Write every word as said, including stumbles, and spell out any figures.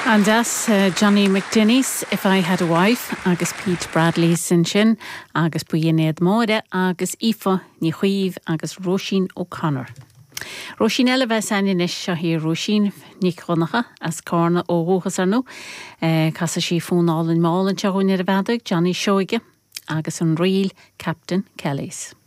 An-deas Johnny McDenny's If I Had a Wife agus Pete Bradley ansin agus Buíonéad Máire agus Aoife Ní Chaoimh agus Róisín O'Connor. Róisín eile bheith san is seo hí Róisín Nic Dhonncha as Carna ó dhúchas arnú, Casfaidh sí fonn álainn mall anseo ar an bhfeadóg Johnny Seoige agus an ríl Captain Kelly's.